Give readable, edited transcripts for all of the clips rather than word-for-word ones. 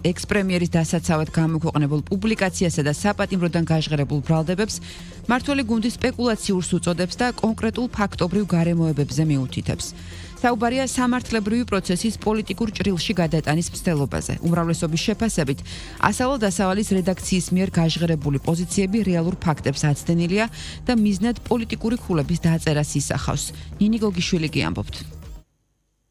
ექს-პრემიერის დასაცავად გამოქვეყნებულ პუბლიკაციასა და საპატიმროდან გაჟღერებულ ბრალდებებს მმართველი გუნდი სპეკულაციურს უწოდებს და კონკრეტულ ფაქტობრივ გარემოებებზე მიუთითებს. საუბარია სამართლებრივი პროცესის პოლიტიკურ ჭრილში გადატანის მცდელობაზე. უმრავლესობის შეფასებით, ასავალ-დასავალის რედაქციის მიერ გაჟღერებული პოზიციები რეალურ ფაქტებს აცდენილია და მიზნად პოლიტიკური ქულების დაწერას ისახავს. ნინი გოგიშვილი გიამბობთ.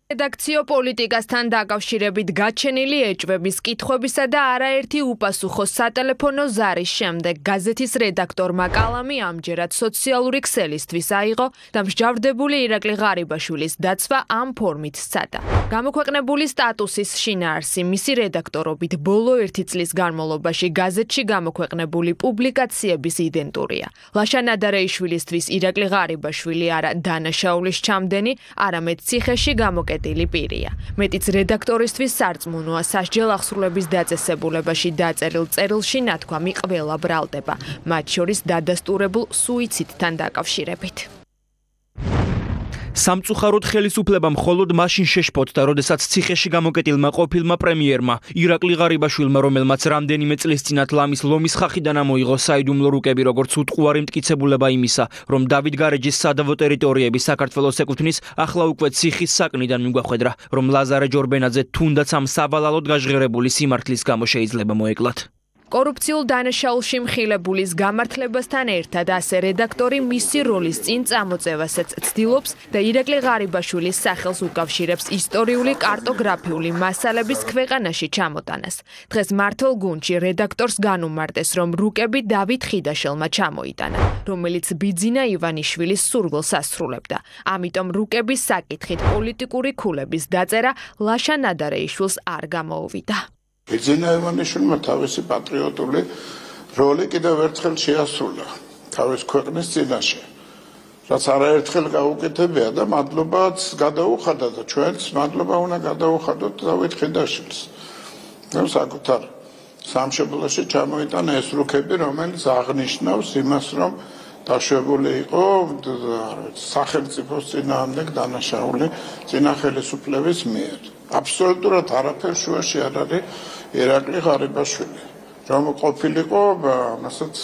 რედაქციო პოლიტიკასთან დაკავშირებით გაჩენილი ეჭვების კითხვებისა და არაერთი უპასუხო სატელეფონო ზარის შემდეგ გაზეთის რედაქტორმა კალამი ამჯერად სოციალური ქსელისთვის აიღო და მსჯავრდებული ირაკლი ღარიბაშვილის დაცვა ამ ფორმით სცადა. გამოქვეყნებული სტატუსის შინაარსი მისი რედაქტორობით ბოლო 1 წლის განმავლობაში გაზეთში გამოქვეყნებული პუბლიკაციების იდენტურია. ლაშა ნადარეიშვილისთვის ირაკლი ღარიბაშვილი არა დანაშაულის ჩამდენი, არამედ ციხეში გამოკეტილი პირია. მეტიც რედაქტორისთვის სარწმუნოა სასჯელ აღსრულების დაწესებულებაში დაწერილ წერილში ნათქვამი ყველა ბრალდება, მათ შორის დადასტურებულ სუიციდთან დაკავშირებით. სამწუხაროდ ხელისუფლება მხოლოდ მაშინ შეშფოთდა, როდესაც ციხეში გამოკეტილმა ყოფილმა პრემიერმა ირაკლი ღარიბაშვილმა, რომელმაც რამდენიმე წლის წინათ ლამის ლომის ხახიდან ამოიღო საიდუმლო რუკები, როგორც უტყუარი მტკიცებულება იმისა, რომ დავით გარეჯის სადავო ტერიტორიები საქართველოს ეკუთვნის, ახლა უკვე ციხის საკნიდან მიგვახვედრა, რომ ლაზარე ჯორბენაძე თუნდაც ამ სავალალოდ გაჟღერებული სიმართლის გამო შეიძლება მოეკლათ. კორუფციულ დანაშაულში მხილებულის გამართლებასთან ერთად ასე რედაქტორი მისი როლის წინ წამოწევასაც ცდილობს და ირაკლი ღარიბაშვილის სახელს უკავშირებს ისტორიული კარტოგრაფიული მასალების ქვეყანაში ჩამოტანას. დღეს მართლ გუნდში რედაქტორს განუმარტეს, რომ რუკები დავით ხიდაშელმა ჩამოიტანა, რომელიც ბიძინა ივანიშვილის სურვილს ასრულებდა. ამიტომ რუკების საკითხით პოლიტიკური ქულების დაწერა ლაშა ნადარეიშვილს არ გამოუვიდა. ბიძინა ივანიშვილმა თავისი პატრიოტული როლი კიდევ ერთხელ შეასრულა თავის ქვეყნის წინაშე, რაც არაერთხელ გაუკეთებია და მადლობაც გადაუხადა და ჩვენც მადლობა უნდა გადაუხადოთ დავით ხიდაშვილს. საკუთარ სამშობლოში ჩამოიტანა ეს რუკები, რომელიც აღნიშნავს იმას, რომ დაშვებული იყო სახელმწიფოს წინააღმდეგ დანაშაული წინა ხელისუფლების მიერ. აბსოლუტურად არაფერ შუაში არ არის ირაკლი ღარიბაშვილი, რომ ყოფილიყო, მასაც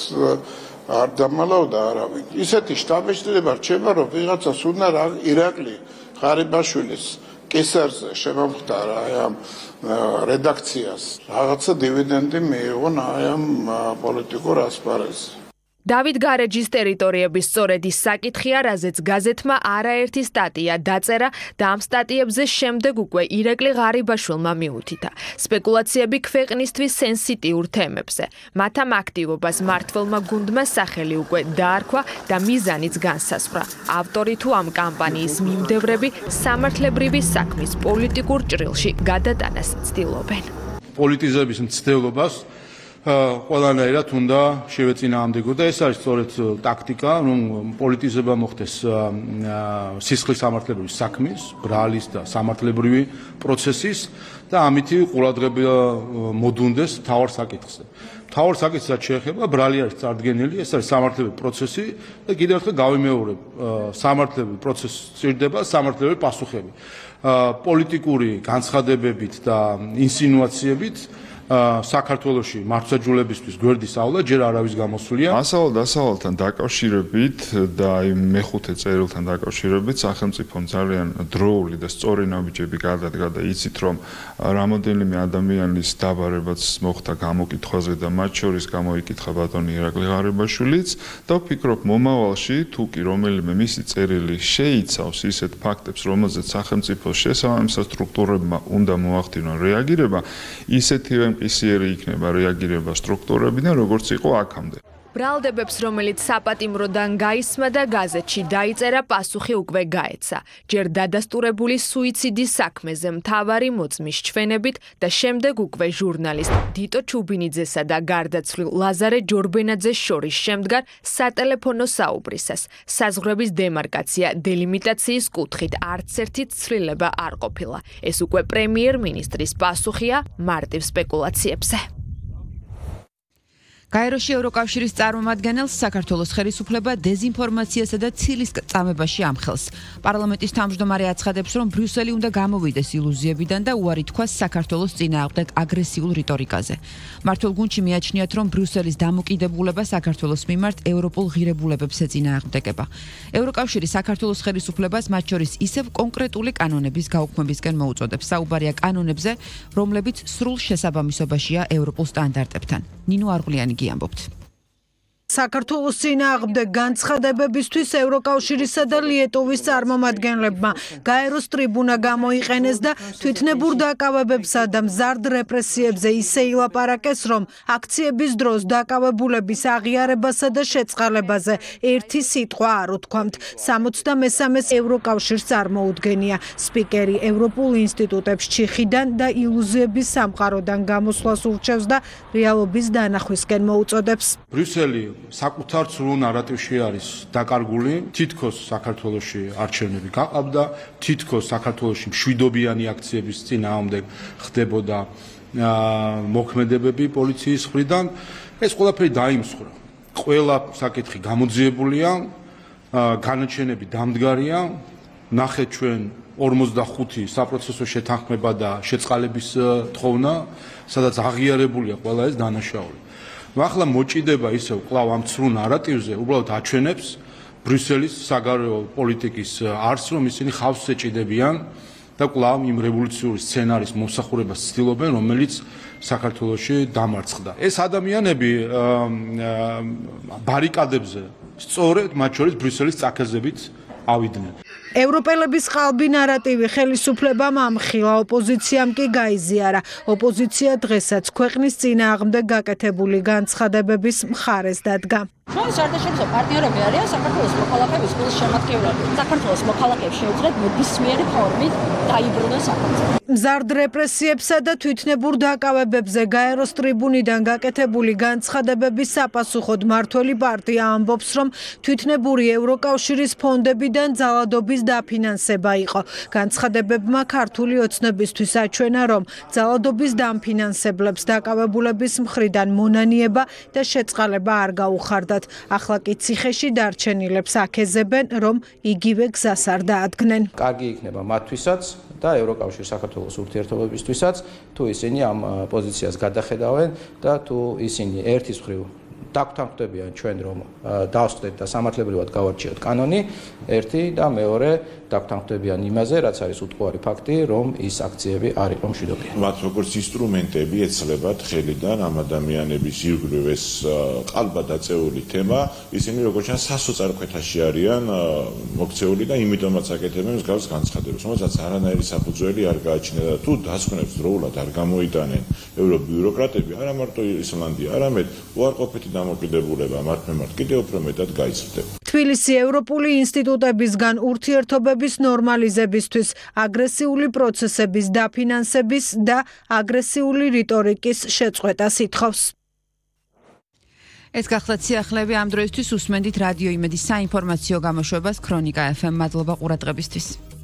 არ დამალავდა არავინ. ისეთი შტაბ-ბიჭდება რჩება, რომ ვიღაცას უნდა ირაკლი ღარიბაშვილის კისერზე შემომხდარა ამ რედაქციას, რაღაცა დივიდენდი მიიღონ ამ პოლიტიკურ ასპარეზზე. დავით გარეჯის ტერიტორიების სწორედ ის საკითხია, რაზეც გაზეთმა არაერთი სტატია დაწერა და ამ სტატიებზე შემდეგ უკვე ირაკლი ღარიბაშვილმა მიუთითა. სპეკულაციები ქვეყნისთვის სენსიტიურ თემებზე. მათ ამ აქტივობას მმართველმა გუნდმა სახელი უკვე დაარქვა და მიზანიც განსაზღვრა. ავტორი თუ ამ კამპანიის მიმდევრები სამართლებრივი საქმის პოლიტიკურ ჭრილში გადატანას ცდილობენ. პოლიტიზების მცდელობას ყველანაირად უნდა შევეწინააღმდეგო და ეს არის სწორედ ტაქტიკა, რომ პოლიტიზება მოხდეს სისხლის სამართლებრივი საქმის, ბრალის და სამართლებრივი პროცესის და ამითი ყურადღება მოდუნდეს მთავარ საკითხზე. მთავარ საკითხსაც შეეხება ბრალი არის წარდგენილი, ეს არის სამართლებრივი პროცესი და კიდევ ერთხელ გავიმეორებ, სამართლებრივი პროცესი სჭირდება სამართლებრივი პასუხები. პოლიტიკური განცხადებებით და ინსინუაციებით საქართველოში მართლმსაჯულებისთვის გვერდის ავლა ჯერ არავის გამოსვლია. ასავალ-დასავალთან დაკავშირებით და აი მეხუთე წერილთან დაკავშირებით სახელმწიფომ ძალიან დროული და სწორი ნაბიჯები გადადგა და იცით რომ რამოდენიმე ადამიანის დაბარებაც მოხდა გამოკითხვაზე და მათ შორის გამოიკითხა ბატონი ირაკლი ღარიბაშვილიც და ვფიქრობ მომავალში თუ კი რომელიმე მისი წერილი შეიცავს ისეთ ფაქტებს, რომელზეც სახელმწიფოს შესაბამის სტრუქტურებმა უნდა მოახდინონ რეაგირება, ისეთივე მყისიერი იქნება რეაგირება სტრუქტურებიდან, როგორც იყო აქამდე. ბრალდებებს, რომელიც საპატიმროდან გაისმა და გაზეთში დაიწერა, პასუხი უკვე გაეცა. ჯერ დადასტურებული სუიციდის საქმეზე მთავარი მოწმის ჩვენებით და შემდეგ უკვე ჟურნალისტ დიტო ჩუბინიძესა და გარდაცვლილ ლაზარე ჯორბენაძეს შორის შემდგარ სატელეფონო საუბრისას. საზღვრების დემარკაცია დელიმიტაციის კუთხით არც ერთი ცვლილება არ ყოფილა. ეს უკვე პრემიერ-მინისტრის პასუხია მარტივ სპეკულაციებზე. გაეროში ევროკავშირის წარმომადგენელს საქართველოს ხელისუფლება დეზინფორმაციასა და ცილის წამებაში ამხელს. პარლამენტის თავმჯდომარე აცხადებს, რომ ბრიუსელი უნდა გამოვიდეს ილუზიებიდან და უარი თქვას საქართველოს წინააღმდეგ აგრესიულ რიტორიკაზე. მართლ გუნდში მიაჩნიათ, რომ ბრიუსელის დამოკიდებულება საქართველოს მიმართ ევროპულ ღირებულებებს ეწინააღმდეგება. ევროკავშირი საქართველოს ხელისუფლებას მათ შორის ისევ კონკრეტული კანონების გაუქმებისკენ მოუწოდებს. საუბარია კანონებზე, რომლებიც სრულ შესაბამისობაშია ევროპულ სტანდარტებთან. ნინო არღულიანი ამბობთ. საქართველოს წინააღმდეგ განცხადებებისთვის ევროკავშირისა და ლიეტუვის წარმომადგენლებმა გაეროს ტრიბუნა გამოიყენეს და თვითნებურ დაკავებებსა და მზარდ რეპრესიებზე ისე ილაპარაკეს, რომ აქციების დროს დაკავებულების აღიარებასა და შეწყალებაზე ერთი სიტყვა არ უთქვამთ. 63-ს ევროკავშირს წარმოუდგენია. სპიკერი ევროპულ ინსტიტუტებს ჩიხიდან და ილუზიების სამყაროდან გამოსვლას ურჩევს და რეალობის დანახვისკენ მოუწოდებს. ბრიუსელი საკუთარ სრულ ნარატივში არის დაკარგული, თითქოს საქართველოში არჩევნები გაყავდა, თითქოს საქართველოში მშვიდობიანი აქციების წინააღმდეგ ხდებოდა მოქმედებები პოლიციის მხრიდან. ეს ყველაფერი დაიმსხვრა. ყველა საკითხი გამოძიებულია, განაჩენები დამდგარია, ნახეთ ჩვენ 45 საპროცესო შეთანხმება და შეწყალების თხოვნა, სადაც აღიარებულია ყველა ეს დანაშაული. ახლა მოჭიდება ისევ კვლავ ამ ცრუ ნარატივზე უბრალოდ აჩვენებს ბრიუსელის საგარეო პოლიტიკის არსს, რომ ისინი ხავს ეჭიდებიან და კვლავ იმ რევოლუციური სცენარის მომსახურებას ცდილობენ, რომელიც საქართველოში დამარცხდა. ეს ადამიანები ბარიკადებზე სწორედ მათ შორის ბრიუსელის წაქეზებით ავიდნენ. ევროპელების ყალბი ნარატივი ხელისუფლებამ ამხილა, ოპოზიციამ კი გაიზიარა. ოპოზიცია დღესაც ქვეყნის წინააღმდეგ გაკეთებული განცხადებების მხარეს დადგა. ჩვენ საერთაშორისო პარტნიორები არიან საქართველოს მოქალაქეების გულს შემატკივრები. საქართველოს მოქალაქეებს შეუძლიათ ნებისმიერი ფორმით დაიბრუნოს საქართველო. მზარდ რეპრესიებსა და თვითნებურ დაკავებებზე გაეროს ტრიბუნიდან გაკეთებული განცხადებების საპასუხოდ მართველი პარტია ამბობს, რომ თვითნებური ევროკავშირის ფონდებიდან ძალადობის დაფინანსება იყო. განცხადებებმა ქართული ოცნებისთვის აჩვენა, რომ ძალადობის დამფინანსებლებს დაკავებულების მხრიდან მონანიება და შეწყალება არ გაუხარდათ. ახლა კი ციხეში დარჩენილებს აქეზებენ, რომ იგივე გზას არ დაადგნენ. კარგი იქნება მათთვისაც და ევროკავშირის საქართველოს ურთიერთობებისთვისაც, თუ ისინი ამ პოზიციას გადახედავენ და თუ ისინი ერთის მხრივ დაგვთანხმდებიან ჩვენ, რომ დავსწრეთ და სამართლებრივად გავარჩიოთ კანონი, ერთი და მეორე დაგვთანხმდებიან იმაზე, რაც არის უტყუარი ფაქტი, რომ ის აქციები არ იყო მშვიდობიანი. მათ როგორც ინსტრუმენტები ეცლებათ ხელიდან ამ ადამიანების ირგვლივ ეს ყალბადაწეული თემა, ისინი როგორც ჩანს სასოწარკვეთაში არიან მოქცეული და იმიტომაც აკეთებენ მსგავს განცხადებას, რომელსაც არანაირი საფუძველი არ გააჩნია და თუ დასკვნებს დროულად არ გამოიტანენ ევრობიუროკრატები, არა მარტო ისლანდია, არამედ უარყოფითი დამოკიდებულება მათ მიმართ კიდევ უფრო მეტად გაიზრდება. თბილისი ევროპული ინსტიტუტებისგან ურთიერთობების ნორმალიზებისთვის, აგრესიული პროცესების დაფინანსების და აგრესიული რიტორიკის შეწყვეტას ითხოვს. ეს გახლავთ სიახლეები ამ დროისთვის უსმენდით რადიო იმედის საინფორმაციო გამოშვებას ქრონიკა FM. მადლობა ყურადღებისთვის.